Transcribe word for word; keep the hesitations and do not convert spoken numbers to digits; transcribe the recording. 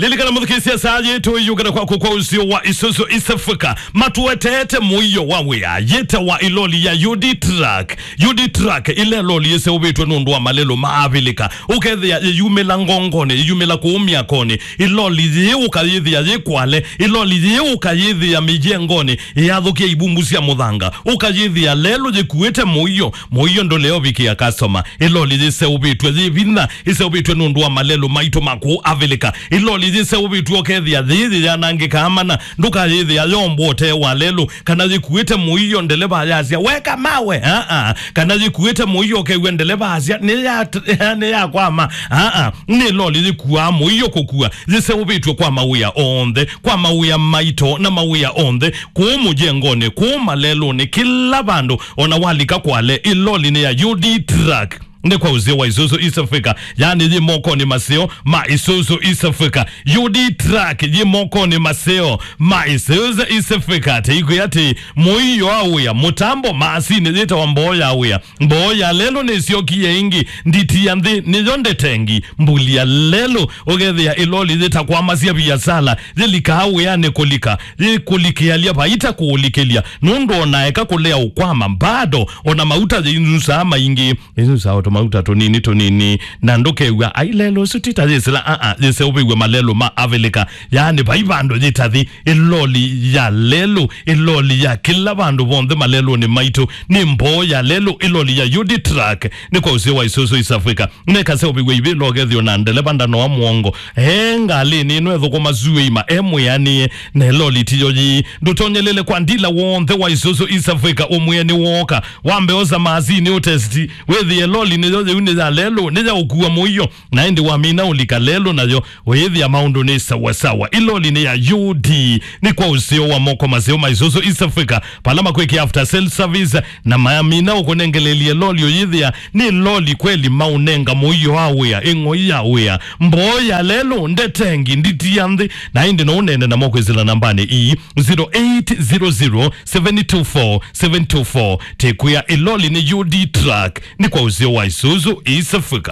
Lilikana mũthukĩĩsya saa yĩĩ tũiyũkĩte kwaku kwa ũsio wa Isuzu East Africa. Matũeteete mũio wa wĩa. Yĩtawa ĩloli ya U D Truck. U D Truck, ĩla ĩloli yĩseũvĩtw'e nũndũ wa malelũ ma Avilika. Ũkethĩa yĩyumĩla ngongonĩ, yĩyumĩla kũu myakonĩ. Ĩloli yĩĩ ũkayĩthĩa yĩ Kwale. Ĩloli yĩĩ ũkayĩthĩa mĩjengonĩ. Ĩyathũkĩa ibumbu sya mũthanga. Ũkayĩthĩa lelũ yĩkuĩte mũio. Mũio ndũleũvikĩa customer. Ĩloli yĩseũvĩtw'e yĩ vinya. Ĩseũvĩtw'e nũndũ wa malelũ maitũ ma kũu Avilika. Ĩloli yĩseũvĩtw'e ũkethĩa yĩĩ yĩyanangĩkaa mana. Ndũkayĩthĩa yombwa ũtee wa lelũ, kana yĩkuĩte mũio ndeleva yasya, "Weka mawe!" Aa. Kana yĩkuĩte mũio ũkew'a ndeleva asya, "Nĩya-, nĩyakwama." Aa. Nĩ loli yĩkuaa mũio kũkua, yĩseũvĩtw'e kwa mawĩa onthe, kwa mawĩa maito na mawĩa onthe, kũu mũjengonĩ, kũu malelũnĩ, kĩla vandũ, ona walika Kwale, ĩloli nĩ ya U D Truck. Nĩ kwa ũseo wa Isuzu East Africa, yaani yĩ mokonĩ maseo ma Isuzu East Africa. U D Truck yĩ mokonĩ maseo ma Isuzu East Africa. Teikwĩa atĩ mũio wa wĩa, mũtambo, maasini yĩtawa mboo ya wĩa. Mboo ya lelũ nĩsyokie ĩngĩ, nditi ya nthĩ nĩyo ndetengi. Mbuli ya lelũ, ũkethĩa ĩloli yĩtakwamasya viasala, yĩlikaa wĩanĩ kũlika, yĩkũlikĩalya vaita kũũlikĩlya, nũndũ ona eka kũlea ũkwama, bado ona mauta yĩinusaa maingĩ. Ĩsu sawa tũmauta tũnini tũnini, na ndũkew'a, "Ai, lelũ ũsu ti ta yĩsĩla." Aa, yĩseũvĩw'e malelũ ma Avilika, yaani vai vandũ yĩtathi. Ĩloli ya lelũ, ĩloli ya kĩla vandũ vonthe malelũnĩ maitũ, nĩ mboo ya lelũ, ĩloli ya U D Truck, nĩ kwa ũseo wa Isuzu East Africa. Nekaseũvĩw'e ivĩla ũkethĩwa na ndeleva ndanoa mũongo. E ngalĩnĩ ĩno ethũkũma zuĩima, e mwĩanĩe, na ĩloli tiyo yĩĩ. Ndũtonyelele kwa ndila wonthe wa Isuzu East Africa ũmwĩe nĩwooka. Wambe osa maasini ũtesti, wĩthĩe loli nĩyo yĩu nĩ ya lelũ, nĩ ya ũkua mũio, na ĩndĩ wamina ũlika lelũ nayo, wĩthĩa maũndũ nĩ sawa sawa. Ĩloli nĩ ya U D, nĩ kwa ũseo wa moko maseo ma Isuzu East Africa, pala makwĩkĩa after sale service, na mamina ũkũnengelelie loli ũyĩthĩa nĩ loli kweli, maũnenga mũio wa wĩa, ĩng'oi ya wĩa, mboo ya lelũ, ndetengi, nditi ya nthĩ, na ĩndĩ no ũnene namo kwĩsĩla nambanĩ ii, zero eight zero zero seven two four seven two four. Tĩkwĩa ĩloli nĩ U D Truck, nĩ kwa ũseo wa Isuzu East Africa.